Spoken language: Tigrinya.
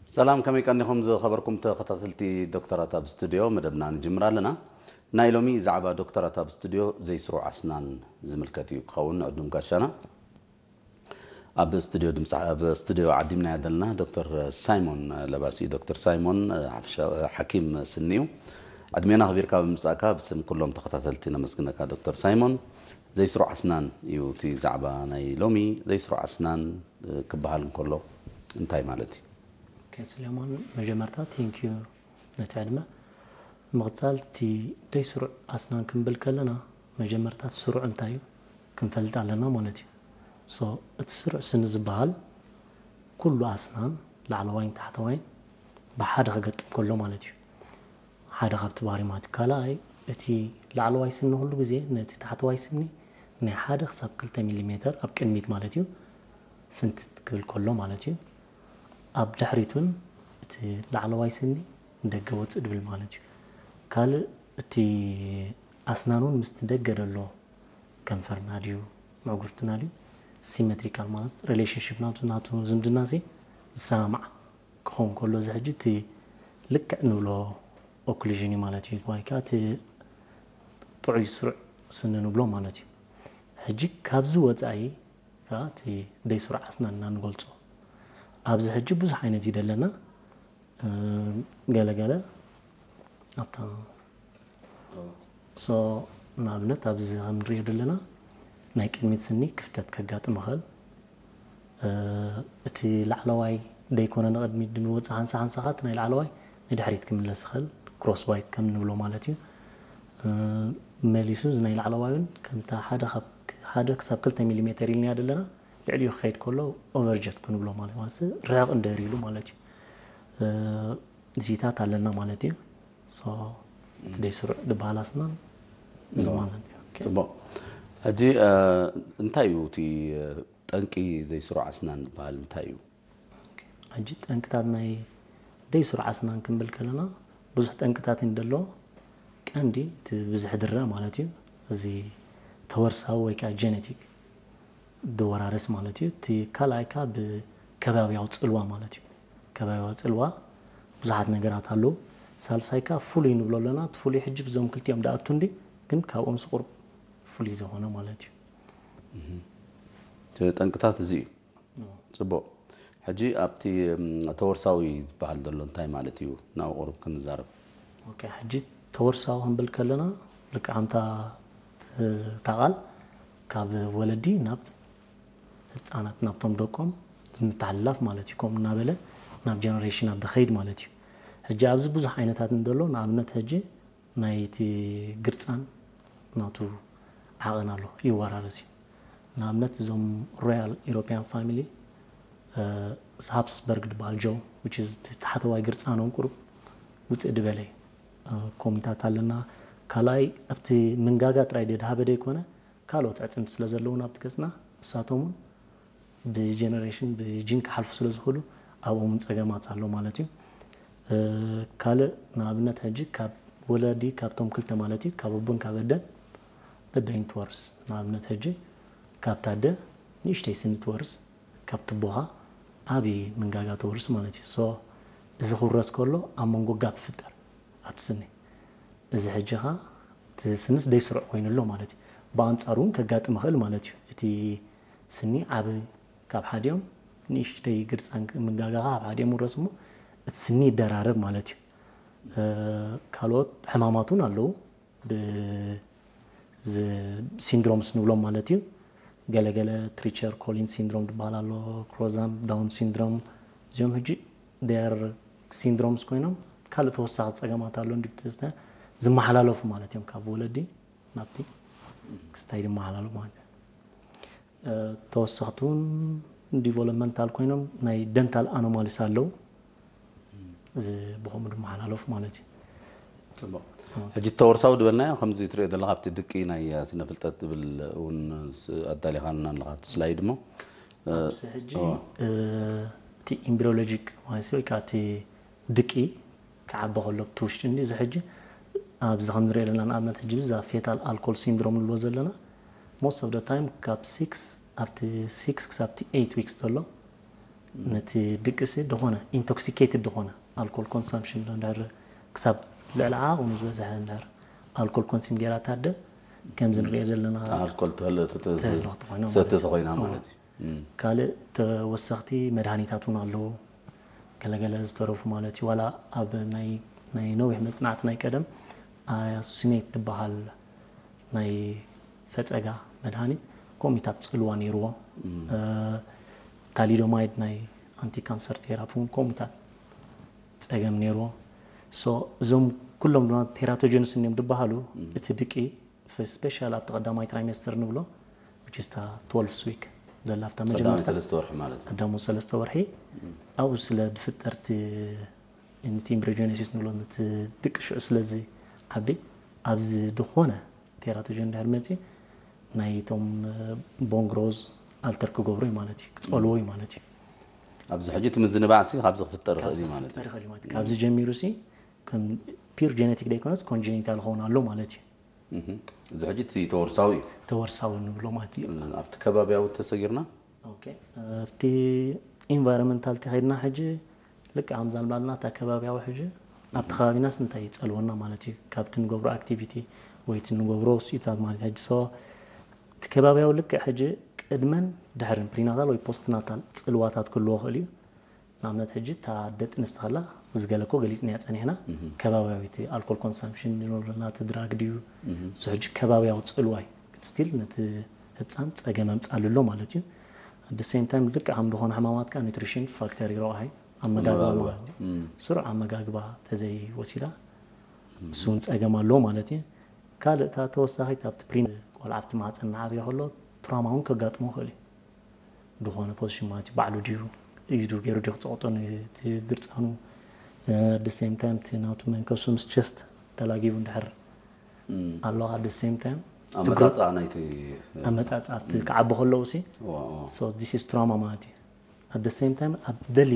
ሰላም፣ ከመይ ቀኒኹም ዝኸበርኩም ተኸታተልቲ ዶክተራት ኣብ ስቱድዮ? መደብና ንጅምር ኣለና። ናይ ሎሚ ዛዕባ ዶክተራት ኣብ ስቱድዮ ዘይስሩዕ ኣስናን ዝምልከት እዩ ክኸውን። ዕዱም ጋሻና ኣብ ስቱድዮ ድምፂ፣ ኣብ ስቱድዮ ዓዲምናያ ዘለና ዶክተር ሳይሞን ለባሲ። ዶክተር ሳይሞን ሓፈሻ-፣ ሓኪም ስኒ እዩ። ዕድሜና ኣኽቢርካ ብምምፃእካ ብስም ኩሎም ተኸታተልቲ ነመስግነካ ዶክተር ሳይሞን። ዘይስሩዕ ኣስናን እዩ እቲ ዛዕባ ናይ ሎሚ። ዘይስሩዕ ኣስናን ክበሃል እንከሎ እንታይ ማለት እዩ? ኦኬ፣ ስሌማን፣ መጀመርታ ቴንኪዩ ነቲ ዕድመ። ምቕጻል እቲ ደይ ስሩዕ ኣስናን ክንብል ከለና፣ መጀመርታ እቲ ስሩዕ እንታይ እዩ ክንፈልጥ ኣለና ማለት እዩ። ሶ እቲ ስሩዕ ስኒ ዝበሃል ኩሉ ኣስናን ላዕለዋይን ታሕተዋይን ብሓደ ክገጥም ከሎ ማለት እዩ። ሓደ ካብቲ ባህሪ ማለት እዩ። ካልኣይ እቲ ላዕለዋይ ስኒ ኩሉ ግዜ ነቲ ታሕተዋይ ስኒ ናይ ሓደ ክሳብ ክልተ ሚሊሜተር ኣብ ቅድሚት ማለት እዩ ፍንትት ክብል ከሎ ማለት እዩ። ኣብ ድሕሪት እውን እቲ ላዕለዋይ ስኒ ንደገ ወፅእ ድብል ማለት እዩ። ካልእ እቲ ኣስናን እውን ምስቲ ደገ ደሎ ከንፈርና ድዩ ምዕጉርትና ድዩ ሲሜትሪካል ማለት ሪሌሽንሽፕ ናቱ ናቱ ዝምድና ሲ ዝሰማማዕ ክኸውን ከሎ እዚ ሕጂ እቲ ልክዕ ንብሎ ኦክሉዥን እዩ ማለት እዩ። ወይ ከዓ እቲ ጥዑይ ስሩዕ ስኒ ንብሎ ማለት እዩ። ሕጂ ካብዚ ወፃኢ ከዓ እቲ ደይ ስሩዕ ኣስናን ኢና ንገልፆ። ኣብዚ ሕጂ ብዙሕ ዓይነት እዩ ደለና። ገለገለ ኣብታ ሶ ንኣብነት ኣብዚ ከም ንሪኦ ዘለና ናይ ቅድሚት ስኒ ክፍተት ከጋጥም ይኽእል። እቲ ላዕለዋይ ደይኮነ ንቕድሚት ድንወፅእ ሓንሳ ሓንሳ ከዓ እቲ ናይ ላዕለዋይ ንድሕሪት ክምለስ ይኽእል። ክሮስ ባይት ከም ንብሎ ማለት እዩ። መሊሱ እዚ ናይ ላዕለዋይ እውን ከምታ ሓደ ካብ ሓደ ክሳብ ክልተ ሚሊሜተር ኢልናዮ ዘለና ልዕሊኡ ክኸይድ ከሎ ኦቨርጀት ክንብሎ ማለት ማለት ርሕቕ እንደር ኢሉ ማለት እዩ። እዚታት ኣለና ማለት እዩ። ሶ እቲ ደይ ስሩዕ ዝበሃል ኣስናን እዚ ማለት እዩ። ኦኬ። ፅቡቕ። ሕጂ እንታይ እዩ እቲ ጠንቂ ዘይስሩዕ ኣስናን ዝበሃል እንታይ እዩ? ኦኬ። ሕጂ ጠንቅታት ናይ ደይ ስሩዕ ኣስናን ክንብል ከለና ብዙሕ ጠንቅታት እዩ ደሎ። ቀንዲ እቲ ብዝሕ ድረ ማለት እዩ እዚ ተወርሳዊ ወይ ከዓ ጀነቲክ ድወራረስ ማለት እዩ። እቲ ካልኣይ ከዓ ብከባቢያዊ ፅልዋ ማለት እዩ። ከባቢያዊ ፅልዋ ብዙሓት ነገራት ኣለዉ። ሳልሳይ ከዓ ፍሉይ ንብሎ ኣለና። እቲ ፍሉይ ሕጂ ብዞም ክልቲኦም ደኣቱ እንዲ ግን ካብኦም ስቁር ፍሉይ ዝኾነ ማለት እዩ። እቲ ጠንቅታት እዚ እዩ። ፅቡቕ። ሕጂ ኣብቲ ተወርሳዊ ዝበሃል ዘሎ እንታይ ማለት እዩ? ናብ ቁሩብ ክንዛረብ። ኦኬ፣ ሕጂ ተወርሳዊ ክንብል ከለና ልክዕ ኣምታ እታ ቃል ካብ ወለዲ ናብ ህፃናት ናብቶም ደቆም ምትሕልላፍ ማለት እዩ። ከምኡ እናበለ ናብ ጀነሬሽን ኣብ ድኸይድ ማለት እዩ። ሕጂ ኣብዚ ብዙሕ ዓይነታት እንደሎ ንኣብነት ሕጂ ናይቲ ግርፃን ናቱ ዓቐን ኣሎ ይወራረስ እዩ። ንኣብነት እዞም ሮያል ኢሮፒያን ፋሚሊ ሃፕስበርግ ድበሃል ጆ which is እቲ ታሕተዋይ ግርፃኖም ቁሩብ ውፅእ ድበለ እዩ። ኮሚታት ኣለና። ካልኣይ ኣብቲ ምንጋጋ ጥራይ ደድሃበ ደይኮነ ካልኦት ዕፅምቲ ስለ ዘለውን ኣብቲ ገፅና ንሳቶም እውን ብጀነሬሽን ብጂን ክሓልፉ ስለ ዝኽእሉ ኣብኦም እውን ፀገማት ኣሎ ማለት እዩ። ካልእ ንኣብነት ሕጂ ካብ ወለዲ ካብቶም ክልተ ማለት እዩ ካብ ኣቦን ካብ ኣደን በበይን ትወርስ ንኣብነት ሕጂ ካብታ ኣደ ንእሽተይ ስኒ ትወርስ ካብ ትቦኻ ዓብዪ ምንጋጋ ትወርስ ማለት እዩ። ሶ እዚ ክውረስ ከሎ ኣብ መንጎ ጋፕ ይፍጠር ኣብቲ ስኒ። እዚ ሕጂ ኸ እቲ ስንስ ደይስሩዕ ኮይኑ ኣሎ ማለት እዩ። ብኣንፃሩ እውን ከጋጥም ይኽእል ማለት እዩ። እቲ ስኒ ዓቢ ካብ ሓዲኦም ንእሽተይ ግርፃን ምንጋጋ ካብ ሓዲኦም ውረስ እሞ እቲ ስኒ ይደራረብ ማለት እዩ። ካልኦት ሕማማት እውን ኣለዉ። ሲንድሮምስ ንብሎም ማለት እዩ። ገለገለ ትሪቸር ኮሊን ሲንድሮም ዝበሃል ኣሎ፣ ክሮዛን ዳውን ሲንድሮም። እዚኦም ሕጂ ር ሲንድሮምስ ኮይኖም ካልእ ተወሳኺ ፀገማት ኣሎ እንዲ ዝመሓላለፉ ማለት እዮም ካብ ወለዲ ናብቲ ክስታይ ዝመሓላለፉ ማለት እዩ። ተወሰኽቲ እውን ዲቨሎፕመንታል ኮይኖም ናይ ደንታል ኣኖማሊስ ኣለዉ። እዚ ብኸምኡ ዝመሓላለፉ ማለት እዩ። ሕጂ ተወርሳዊ ዝበልናዮ ከምዚ ትሪኦ ዘለካ ኣብቲ ድቂ ናይ ስነ ፍልጠት ዝብል እውን ኣዳሊኻልና ኣለካ እቲ ስላይድ እሞ ኣብዚ ሕጂ እቲ ኢምብሪዮሎጂክ ማለት ወይ ከዓ እቲ ድቂ ክዓቢ ከሎ ብቲ ውሽጢ እንዲ እዚ ሕጂ ኣብዚ ከም ንሪኦ ዘለና ንኣብነት ሕጂ ብዛ ፌታል ኣልኮል ሲንድሮም ንብሎ ዘለና most of the time ካብ ሲክስ ኣብቲ ሲክስ ክሳብ እቲ ኤይት ዊክስ ዘሎ ነቲ ድቅሲ ዝኾነ ኢንቶክሲኬትድ ዝኾነ ኣልኮል ኮንሳምፕሽን እንድሕር ክሳብ ልዕሊ ዓቕኑ ዝበዝሐ እንድሕር ኣልኮል ኮንሲም ጌራ ታደ ከምዚ ንሪኦ ዘለና ኣልኮል ተህለ ተህልኽ ተኾይና ሰቲ ተኾይና ማለት እዩ። ካልእ ተወሰኽቲ መድሃኒታት እውን ኣለዉ። ገለገለ ዝተረፉ ማለት እዩ። ዋላ ኣብ ናይ ናይ ነዊሕ መጽናዕቲ ናይ ቀደም ኣያሱሲኔት ትበሃል ናይ ፈጸጋ መድሃኒት ኮሚታት ጽልዋ ነይርዎ። ታሊዶማይድ ናይ ኣንቲ ካንሰር ቴራፒ እውን ኮሚታት ጸገም ነይርዎ። እዞም ኩሎም ድማ ቴራቶጀንስ እዮም ዝበሃሉ። እቲ ድቂ ስፔሻል ኣብቲ ቀዳማይ ትራይሜስተር ንብሎ which is እታ ትወልቭ ዊክ ዘላ ኣብታ ቀዳማይ መጀመርታ ሰለስተ ወርሒ ማለት እዩ። ቀዳሙ ሰለስተ ወርሒ ኣብኡ ስለ ዝፍጠር እቲ ነቲ ኢምብሪዮጀነሲስ ንብሎ ነቲ ድቂ ሽዑ ስለዚ ዓቢ ኣብዚ ዝኾነ ቴራቶጀን ድሕር መፂ ናይቶም ቦን ግሮዝ ኣልተር ክገብሩ እዩ ማለት እዩ፣ ክፀልዎ እዩ ማለት እዩ። ኣብዚ ሕጂ እቲ ምዝንባዕ ሲ ካብዚ ክፍጠር ይኽእል እዩ ማለት እዩ። ይኽእል እዩ ማለት እዩ። ካብዚ ጀሚሩ ሲ ከም ፒር ጀነቲክ ደይኮነስ ኮንጀኒታል ክኸውን ኣሎ ማለት እዩ። እዚ ሕጂ እቲ ተወርሳዊ እዩ። ተወርሳዊ ንብሎ ማለት እዩ። ኣብቲ ከባቢያዊ ተሰጊርና ኦኬ፣ ኣብቲ ኢንቫይሮንመንታል ተኸይድና ሕጂ ልክዕ ከምዛ ልባልና እታ ከባቢያዊ ሕጂ ኣብቲ ከባቢናስ እንታይ ይፀልወና ማለት እዩ? ካብቲ ንገብሮ ኣክቲቪቲ ወይ እቲ ንገብሮ ውፅኢታት ማለት እዩ። ሕጂ ሰ እቲ ከባቢያዊ ልክዕ ሕጂ ቅድመን ድሕርን ፕሪናታል ወይ ፖስትናታል ፅልዋታት ክህልዎ ይኽእል እዩ። ንኣብነት ሕጂ እታ ኣደ ጥንስቲ ከላ ዝገለኮ ገሊፅናያ ፀኒሕና ከባቢያዊ እቲ ኣልኮል ኮንሳምፕሽን ንብለና እቲ ድራግ ድዩ እሱ ሕጂ ከባቢያዊ ፅልዋይ ስቲል ነቲ ህፃን ፀገም ኣምፃሉ ኣሎ ማለት እዩ። ኣደ ሴም ታይም ልክዕ ከም ዝኾነ ሕማማት ከዓ ኒትሪሽን ፋክተር ይረብሓ እዩ። ኣመጋግባ ኣመጋግባ። ማለት እዩ። ስሩዕ ኣመጋግባ ተዘይወሲዳ እሱ እውን ፀገም ኣለዎ ማለት እዩ። ካልእ ከዓ ተወሳኺት ኣብቲ ፕሪን ቆልዓ ኣብቲ ማህፀን እናዓብየ ከሎ ትራማ እውን ከጋጥሞ ይኽእል እዩ። ዝኾነ ፖዚሽን ማለት እዩ ባዕሉ ድዩ ኢዱ ገይሩ ድዩ ክፀቕጦ ነቲ ግርፃኑ ኣደ ሴም ታይም እቲ ናቱ መንከሱ ምስ ቸስት ተላጊቡ እንድሕር ኣሎ ኣደ ሴም ታይም ኣመፃፅኣ ናይቲ ኣመፃፅኣ እቲ ክዓቢ ከለዉ ሲ ዋ፣ ዋ። so this is trauma ማለት እዩ። ኣደ ሴም ታይም ኣብ ደሊ